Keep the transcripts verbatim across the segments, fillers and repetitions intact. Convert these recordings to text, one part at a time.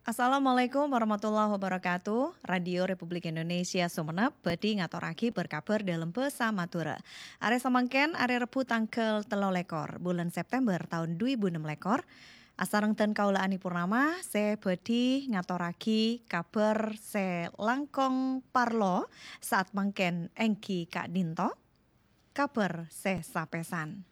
Assalamualaikum warahmatullahi wabarakatuh. Radio Republik Indonesia Sumenep bhâdhi ngatorraghi berkabar dâlem bhâsa Madhurâ. Arè samangkèn, arè Rebbhu tangghâl tello lèkor bulân September taon dhu èbu ennem lèkor. Asareng dân kaulâ Ani Purnama sè bhâdhi ngatorraghi kabhâr sè langkong parlo saat mangkèn èngghi ka'dinto. Kabhâr sè sapèsan.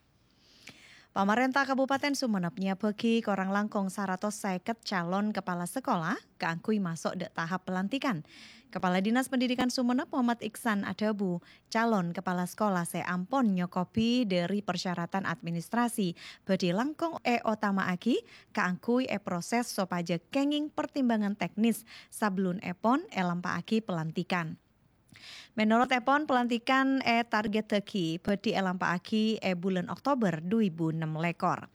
Pamarènta Kabupaten Sumenep nyabâgi korang langkong saratos sèket calon kepala sekolah kaangghuy maso' dâ' tahap pelantikan. Kepala Dinas Pendidikan Sumenep Muhammad Iksan adhâbu, calon kepala sekolah sè ampon nyokobi dhâri persyaratan administrasi bhâdhi langkong èotama'aghi kaangghuy èproses sopajâ kèngèng pertimbangan teknis sabellunèpon èlampa'aghi pelantikan. Menorot èpon, pelantikan ètargèttaghi bhâdhi èlampa'aghi è bulân Oktober dhu èbu ennem lèkor.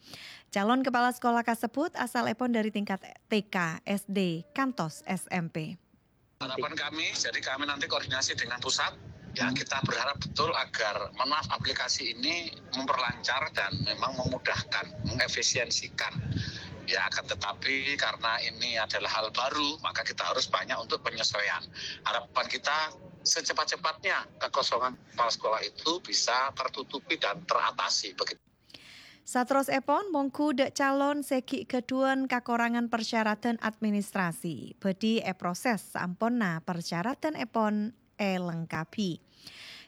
Calon kepala sekolah kasebbhut asalèpon dhâri tingkat T K, S D, kantos S M P. Harapan kami, jadi kami nanti koordinasi dengan pusat. Ya, kita berharap betul agar, mohon maaf, aplikasi ini memperlancar dan memang memudahkan, mengefisiensikan. Ya, akan tetapi karena ini adalah hal baru, maka kita harus banyak untuk penyesuaian. Harapan kita secepat-cepatnya kekosongan kepala sekolah itu bisa tertutupi dan teratasi. Begitu. Saterrossèpon, mongghu dâ' calon sè ghi' ghâdhuwân kakorangan persyaratan administrasi, bhâdhi èproses saamponna persyaratanèpon èlengkabi.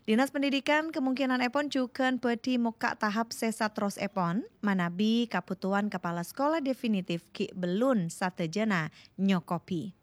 Dinas Pendidikan kemungkinanèpon jhughân bhâdhi mokka' tahap sè saterrossèpon, manabi kabhutowan kepala sekolah definitif ghi' bellun sadhâjâna nyokobi.